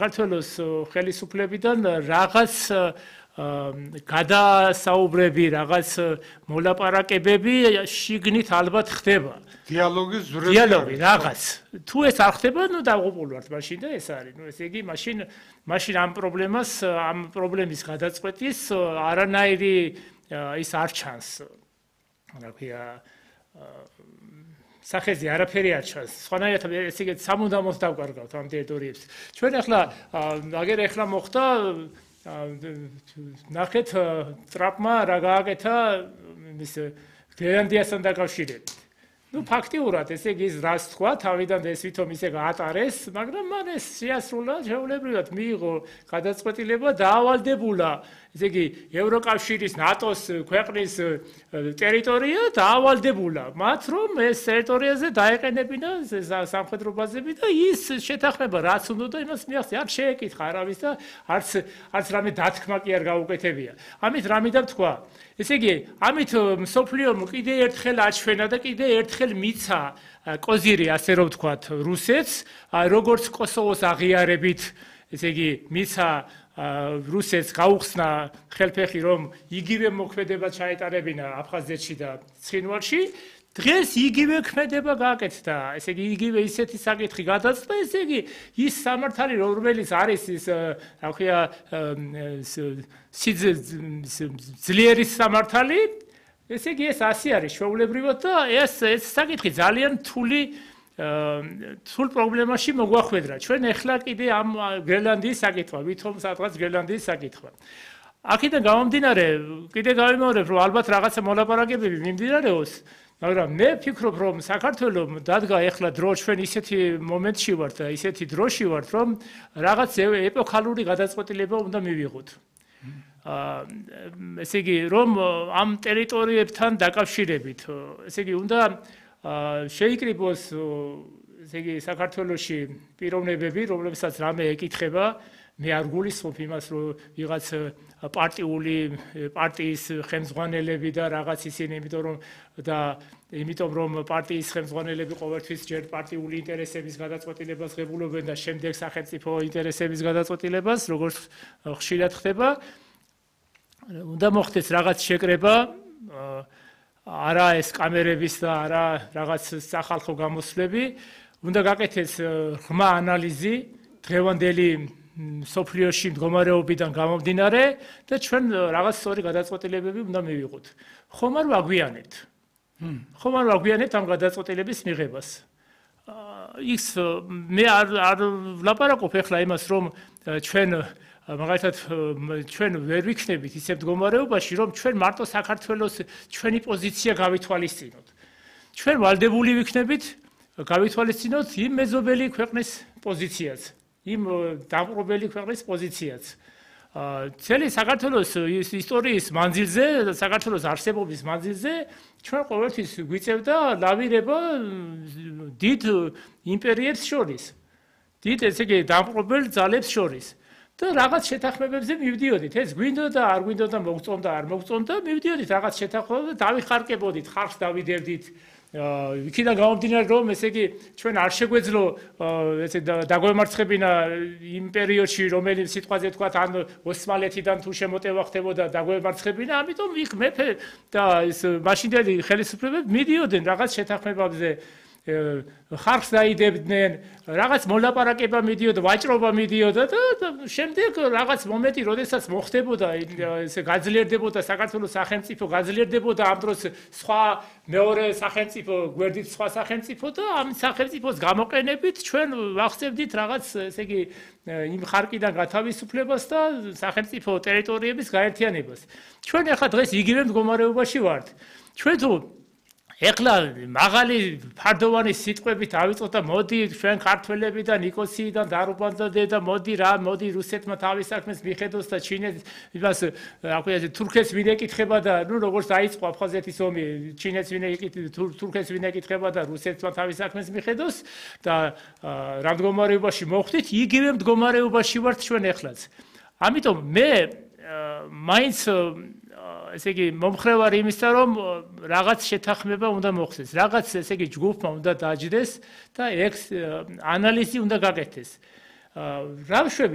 საქართველოს ხელისუფლებიდან რაღაც გადასაუბრები, რაღაც მოლაპარაკებები შიგნით ალბათ ხდება. დიალოგი რაღაც. თუ ეს არ ხდება, ნუ დაღუპულ ვართ მაშინ და ეს არის. ნუ ესე იგი მაშინ ამ პრობლემის გადაწყვეტის არანაირი ის არ ჩანს. რა ქვია სახეზე არაფერი არ ჩანს. სხვანაირად ესე იგი სამუდამოდ დავკარგავთ ამ ტერიტორიებს. ჩვენ ახლა ახლა მოხდა ნახეთ ტრაპმა რა გააკეთა ის გრენლანდიასთან დაკავშირებით. ნუ ფაქტიურად ესე იგი რას თქვა, თავიდან ეს ვითომ ისე გაატარეს, მაგრამ მან ეს შეასრულა, შეულებრივად მიიღო გადაწყვეტილება და ავალდებულა. ესე იგი ევროკავშირის ნატოს ქვეყნის ტერიტორია დაავალდებულა. მათ რომ ეს ტერიტორიაზე დაეყენებინა სამხედრო ბაზები და ის შეთანხმება რაც უნდა იმას მიაღწია. არ შეეკითხა არავის და არც რამე დათქმა კი არ გაუკეთებია. ამით რამე თქვა. ესე იგი ამით მსოფლიომ კიდე ერთხელ აჩვენა და კიდე ერთხელ მიცა კოზირი ასე რომ ვთქვათ რუსეთს, როგორც კოსოვოს აღიარებით, ესე იგი მიცა რუსეთს გაუხსნა ხელფეხი რომ იგივე მოქმედება ჩაეტარებინა აფხაზეთში და ცხინვალში. დღეს იგივე ქმედება გააკეთდა. ესე იგი იგივე ისეთი საკითხი გადაწყდა, ესე იგი ის სამართალი რომელიც არის ის რა ქვია ძლიერი სამართალი, ესე იგი ეს ასე არის შეულებრივად და ეს საკითხი ძალიან თულ პრობლემაში მოგვახვედრა. ჩვენ ახლა კიდე ამ გრენლანდიის საკითხვა, ვითომ სადღაც გრენლანდიის საკითხვა. აქედან გამომდინარე, კიდე გავიმეორებ, რომ ალბათ რაღაცა მოლაპარაკებები მიმდინარეობს, მაგრამ მე ვფიქრობ, რომ საქართველოს დადგა ახლა დრო ჩვენ ისეთი მომენტში ვართ და ისეთი დროში ვართ, რომ რაღაც ეპოქალური გადაწყვეტილება უნდა მივიღოთ. ესე იგი, რომ ამ ტერიტორიებთან დაკავშირებით, ესე იგი, უნდა შეიკრიბოს ესე იგი საქართველოში პიროვნებები, რომლებსაც რამე ეკითხება, მე არ გულისხმობ იმას, რომ ვიღაც პარტიის ხელმძღვანელები და რაღაც ისინი, იმიტომ რომ პარტიის ხელმძღვანელები ყოველთვის ჯერ პარტიული ინტერესების გადაწყვეტილებას ღებულობენ და შემდეგ სახელმწიფო ინტერესების გადაწყვეტილებას, როგორც ხშირად ხდება, უნდა მოხდეს რაღაც შეკრება არა ეს კამერების და არა რაღაც სახალხო გამოსვლები, უნდა გაკეთდეს ღრმა ანალიზი დღევანდელი სოფლიოში მდგომარეობიდან გამომდინარე და ჩვენ რაღაც სწორი გადაწყვეტილებები უნდა მივიღოთ. ხომ არ ვაგვიანებთ ამ გადაწყვეტილების მიღებას. ის მე არ ვლაპარაკობ ახლა იმას, რომ მაგალითად ჩვენ ვერ ვიქნებით ისე მდგომარეობაში, რომ ჩვენ მარტო საქართველოს ჩვენი პოზიცია გავითვალისწინოთ. ჩვენ ვალდებული ვიქნებით გავითვალისწინოთ იმ მეზობელი ქვეყნის პოზიციაც, იმ დამპყრობელი ქვეყნის პოზიციაც. Цели საქართველოს ისტორიის მანძილზე, საქართველოს არსებობის მანძილზე ჩვენ ყოველთვის გვიწევდა ლავირება დიდ იმპერიებს შორის. დიდ ესე იგი დამპყრობელ ძალებს შორის. და რაღაც შეთანხმებებზე მივდიოდით. ეს გვინდოდა, არ გვინდოდა, მოგწონდა, არ მოგწონდა, მივდიოდით რაღაც შეთანხმებებზე, დავიხარკებოდით, ხალხს დავიდევდით. იქიდან გამომდინარე, რომ ესე იგი ჩვენ არ შეგვეძლო ესე დაგვემარცხებინა იმ პერიოდში, რომელიც სიტყვაზე თქვათ, ან ოსმალეთიდან თუ შემოტევა ხდებოდა დაგვემარცხებინა, ამიტომ იქ მეფე და ეს მაშინდელი ხელისუფლებები მიდიოდნენ რაღაც შეთანხმებებზე. ხალხს დაიდებდნენ, რაღაც მოლაპარაკება მიდიოდა, ვაჭრობა მიდიოდა და შემდეგ რაღაც მომენტი, როდესაც მოხდებოდა, ესე გაძლიერდებოდა საქართველოს სახელმწიფო, გაძლიერდებოდა ამ დროს სხვა მეორე სახელმწიფო, გვერდით სხვა სახელმწიფო და ამ სახელმწიფოს გამოყენებით ჩვენ ვახსენებდით რაღაც, ესე იგი, იმ ხარკიდან გათავისუფლებას და სახელმწიფო ტერიტორიების გაერთიანებას. ჩვენ ახლა დღეს იგივე მდგომარეობაში ვართ. ჩვენ თუ ეხლა მაღალი ფარდოვანი სიტყვებით ავიწყოთ და მოდი ჩვენ ქართველები და ნიკოსიიდან დარუბანდა და მოდი რუსეთმა თავის საქმეს მიხედოს და ჩინეთს იმას რა ქვია თურქეთს ვინ ეკითხება და ნუ როგორც დაიწყო აფხაზეთის ომი ჩინეთს ვინ თურქეთს ვინ ეკითხება და რუსეთმა თავის საქმეს მიხედოს და რა მდგომარეობაში მოხვდით იგივე მდგომარეობაში ვართ ჩვენ ეხლაც. ამიტომ მე მაინც ესე იგი მომხრევარი იმისა, რომ რაღაც შეთანხმება უნდა მოხდეს, რაღაც ესე იგი ჯგუფმა უნდა დაჯდეს და ეს ანალიზი უნდა გაკეთდეს. რა ვშვები